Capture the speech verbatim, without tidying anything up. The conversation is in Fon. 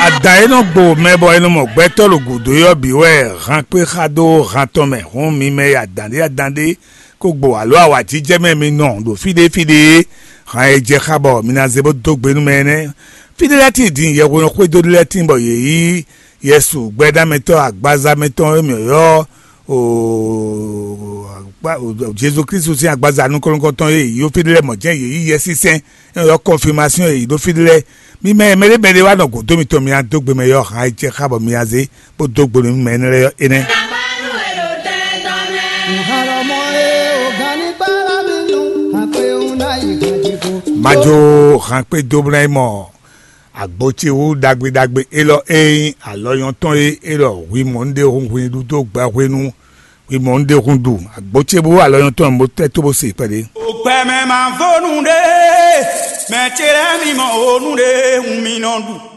Adǎn e nɔ gbo mɛ bɔ è nɔ mɔ gbɛtɔ́ ɖo gǔdo é ɔ́ bǐ wɛ han kpé xa dó han tɔn mɛ. Hǔn mi mɛ e adǎn ɖé adǎn ɖé ko gbo alo awǎjijɛ mɛ mi nɔ ɖo fí ɖé fí ɖé é, han e jɛ xá bɔ mi ná zé bó dó gbe nú mɛ énɛ́. Fí ɖé lɛ́ɛ tíin din yɛhwesin xwedó ɖé lɛ́ɛ tíin bɔ yě yí yɛsu gbɛ́dámɛtɔ́ agbaza mɛtɔn e mǐ ylɔ́ o Jezu Kristu sín agbaza nukɔn-nukɔntɔn e yǒ fí ɖé lɛ́ɛ mɔ̌ jɛ́n yě yí Yɛsinsɛn e ylɔ́ kɔnfimasɔ́n e yě ɖó fí ɖé lɛ́ɛ. Mi mɛ e mɛɖé mɛɖé wá nɔ gǔdo mitɔn mi ná dó gbe mɛ ɔ́, han e jɛ xá bɔ mi ná zé bó dó gbe nú mɛ énɛ́ lɛ́ɛ ɔ́ énɛ́. Majo han kpé dó bla yi mɔ agbo ce wú ɖagbe ɖagbe élɔ́ e nyí alɔ nyɔ́tɔn é élɔ́ hwi mɔ un ɖe hun hwi ɖu dó gba hwenu hwi mɔ un ɖe hun ɖu agbo ce bú alɔ nyɔ́tɔn bó tɛ́ tó bó se kpɛɖé. Ògbɛmɛ máa vó nú ɖé, mɛ ce lɛ́ɛ mi mɔ ònú ɖé hun mi nɔ ɖu.